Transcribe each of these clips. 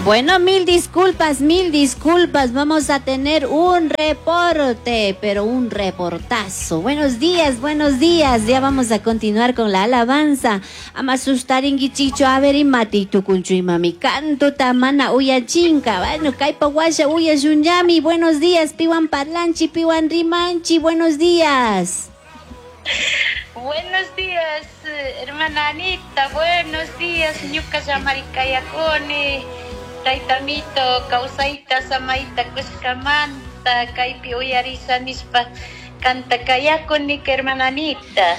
Bueno, mil disculpas, mil disculpas. Vamos a tener un reporte, pero un reportazo. Buenos días, buenos días. Ya vamos a continuar con la alabanza. Ama sustaringuichichu, a ver, imati tukunchu imami. Canto tamana uyachinka. Bueno, kaypa washa uyashunyami. Buenos días, piwan parlanchi, piwan rimanchi. Buenos días. Buenos días, hermana Anita. Buenos días, ñuka llamarikayakuni. Taytamito, kawsayta, samayta kushkamanta, kaypi uyarisha nishpa kantakayakuni, hermana Anita.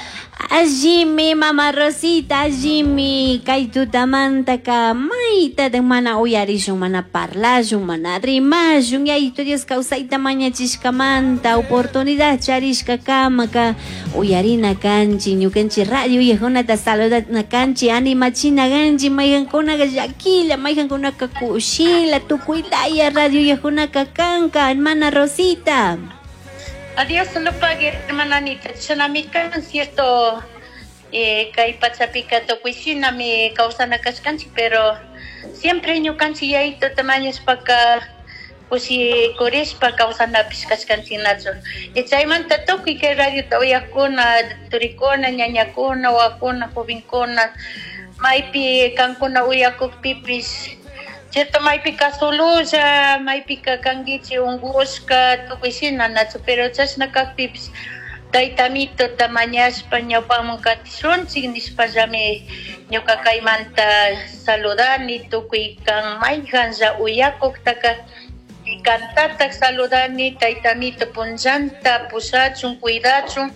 Allimi, mama Rosita, allimi, kay tutamantaka mayta mana uyarishun, mana parlashun, mana rimashun, Yayito Dios kawsayta mañachishkamanta, oportunidad charishka kamaka uyarina kanchi, ñukanchik radio uyajkunata saludana kanchi, animachina kanchi, mayqankunaka llakilla, mayqankunaka kushila, tukuylaya radio uyajkunaka kanka, hermana Rosita. A Dios lo pague, hermana Anita. Shinami kan, cierto, kay pachapika tukuy shinami kawsana kashkanchik, pero siempre ñukanchik yayito mañashpaka kushikurishpa kawsanapish kashkanchik nachu. Y chaymanta tukuy kay radiota uyakuna, turikuna, ñañakuna, wawakuna, jovenkuna, maypi kankuna uyakukpipish, cierto, maypika sololla, maypika kankichik unkushka, tukuy shina nachu, pero chashna kakpipish taytamitota mañashpa ñawpaman katishunchik nishpallami ñuka kaymanta saludani tukuy kan mayqanlla uyakuktaka y kantatak saludani taytamito punllanta pushachun cuidachun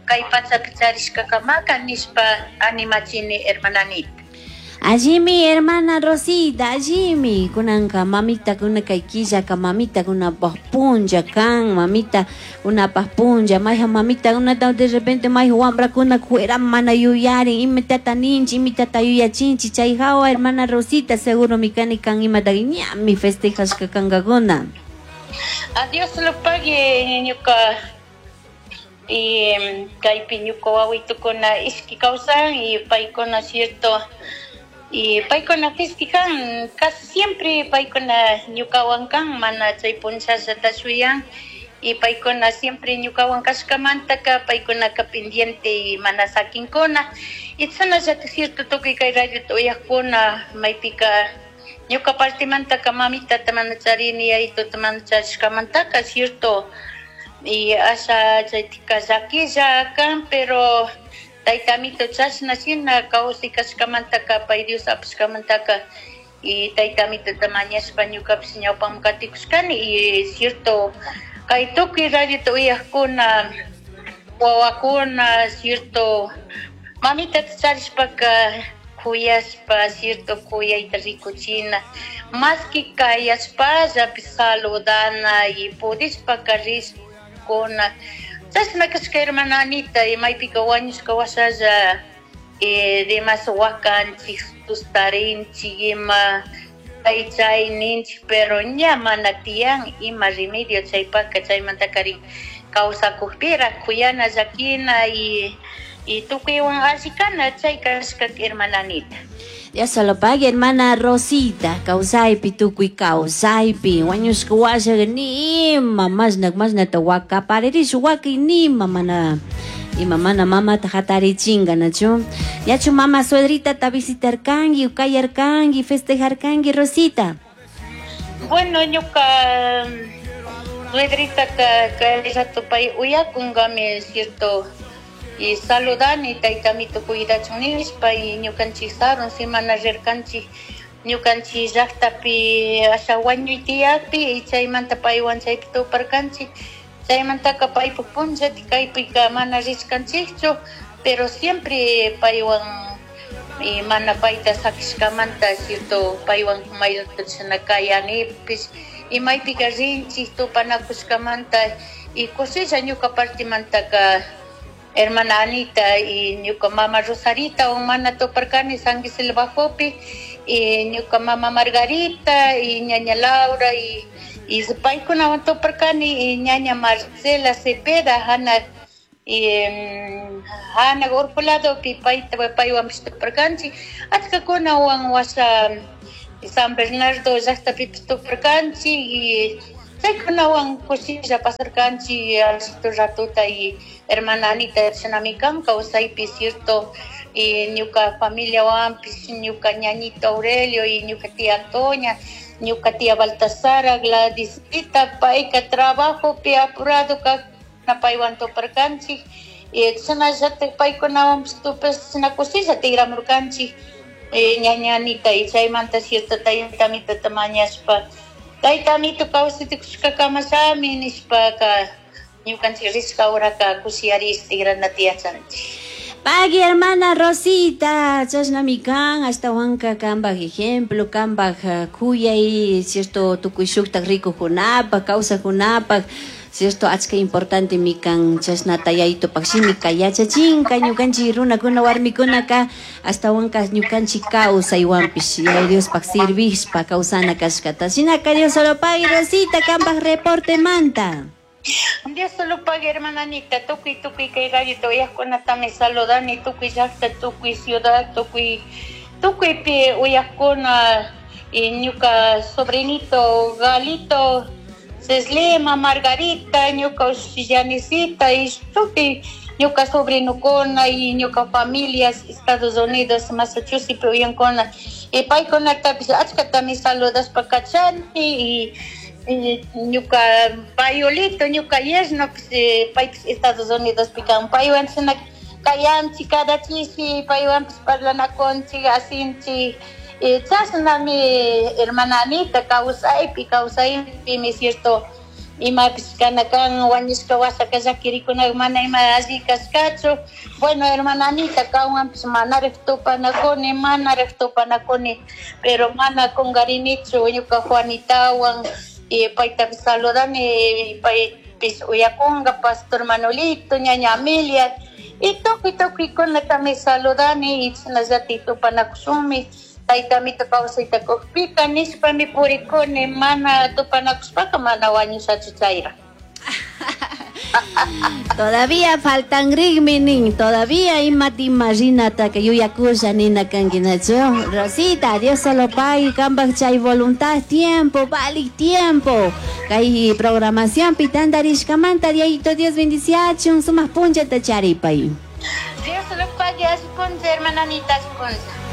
kay pachapi charishkakamaka nishpa animachini, hermana Anita. Allimi, hermana Rosita, allimi. Kunanka mamita kuna kay killaka mamita kunapaj punlla kan, mamita kunapaj punlla, mayqa mamita kunata de repente mayqa wamrakuna kuera mana yuyarin, imatata ninchi, imatata yuyachinchi, chay hawa hermana Rosita, seguro mi kani kan imata ñami festejashka kankakuna. A Dios lo pague, ñuka y kaypi ñuka wawitukuna ishki kawsan y paykuna cierto y paykuna festejan casi siempre paykuna ñukawan kan mana chay punchallata shuyan y paykuna siempre ñukawan kashkamantaka paykunaka pendiente y mana sakinkuna y chashnallata cierto tukuy kay radiota uyakuna maypika ñuka partimantaka mamitata mana charini yayituta mana charishkamantaka cierto y asha chaytika llakilla kan, pero taytamito chashna shina kawsay kashkamantaka pay Dios apashkamantaka y taytamitota mañashpa ñukapish ñawpaman katikushkani y cierto kay tukuy radiota uyakuna wawakuna cierto mamitata charishpaka kuyashpa cierto kuyayta rikuchina maski kayashpallapish saludana y pudishpaka rishkuna chashna kashka hermana Anita y maypika wañushka washalla demas wakanchik sustarinchik ima chay chay ninchik pero ña mana tiyan ima remedio chaypaka chaymantakarin kawsakukpira kuyana llakina y tukuywan alli kana chay kashka hermana Anita. Dios se lo pague, hermana Rosita, kawsaypi tukuy kawsaypi wañushka washa nima mashna mashnata wakaparirish waki nima mana ima mana mamata hatarichinga nachu yachu mama suegrita ta visitarkanki kayarkanki festejarkanki Rosita. Bueno, ñuka suegritaka kay rato pay uyakunkami cierto y saludani taytamito cuidachun nishpa y ñukanchik sarun semana rirkanchik ñukanchik llaktapi asha wañuy tiyakpi y chaymanta paywan chaypi tuparkanchik chaymantaka paypuk punllati kaypika mana rishkanchikchu pero siempre paywan y mana payta sakishkamanta cierto paywan mayrata chashna kayanipish y maypika rinchik tupanakushkamanta y kushilla ñuka partimantaka hermana Anita y ñuka mama Rosarita o mana tuparkani San Gisela Bajopi y ñuka mama Margarita y ñaña Laura y paykunawan tuparkani y ñaña Marcela Cepeda hana y hana urku ladopi payta paywanpish tuparkanchik achkakunawan washa San Bernardo llaqtapipish tuparkanchik y chaykunawan kushilla pasarkanchik allitu ratuta y hermana Anita shinami kan kawsaypi cierto y ñuka familiawanpish ñuka ñañito Aurelio y ñuka tía Antonia, ñuka tía Baltasara, Gladysita, payka trabajopi apurado kak paywan tuparkanchik y chashnallatak paykunawanpish tupash chashna kushilla tigramurkanchik ñaña Anita y chaymanta cierto tayta amitota mañashpa tayta amito kawsaytukushka kamashami nishpaka ñukanchik rishka horaka kushiyarish tigranata yachanchik. Pagui hermana Rosita, chashnami kan, ashtawanka kambaj ejemplo, kambaj kuyay, cierto, tukuy shuktak rikukunapaj, kawsakunapaj, cierto, achka importante mi kan, chashnata yayitupak shimika yachachinka, ñukanchik runakuna warmikunaka, ashtawanka ñukanchik kawsaywanpish, Yaya Diospaj sirvishpa kawsana kashkata. Shinaka Dios solo pagui Rosita, kambaj reporte manta. Dios solo pague, hermana Anita, tukuy, tukuy kay radio uyaqkunatami saludani, tukuy llaqta, tukuy ciudad, tukuy, tukuypi uyaqkuna, y ñuka sobrinito Galito, Ceslima, Margarita, ñuka Ushyanisita, y tukuy ñuka sobrinokuna y ñuka familias, Estados Unidos, Massachusetts uyankuna, y paykunatapish achkatami saludashpa kachani, y ñuka payolito, ñuka yerno, pues, paypis Estados Unidos pican, paywan china kayanchi, cada chishi, paywan pues parlanakunchik, asinchik, y chashnami hermana Anita, kawsaypi, kawsaypimi cierto, imapis kana kan, wañushka wasaka llakirikunaqa mana ima alli kashkachu. Bueno, hermana Anita, kanwanpis manaraj tupanakuni, manaraj tupanakuni, pero mana kungarinichu ñuka Juanitawan, y paytapis saludani, paypis uyakunga, Pastor Manolito, ñaña Amelia, y tukuy tukuykunatami saludani, y chashnallatik tupanakushunmi, tayta amito kawsayta kukpika nishpami purikuni, mana tupanakushpaka mana wañushachu chayra. Todavía faltan rigmi nin, todavía imata imaginata que yuyakusha nina kankinachu. Rosita, Dios solo pague, kambaj chay voluntad, tiempo, vale tiempo. Kay programación pitandarishkamanta, diayito Dios bendiciachun, sumas punchata charipay. Dios solo pague, así puncha, hermana Anita, así puncha.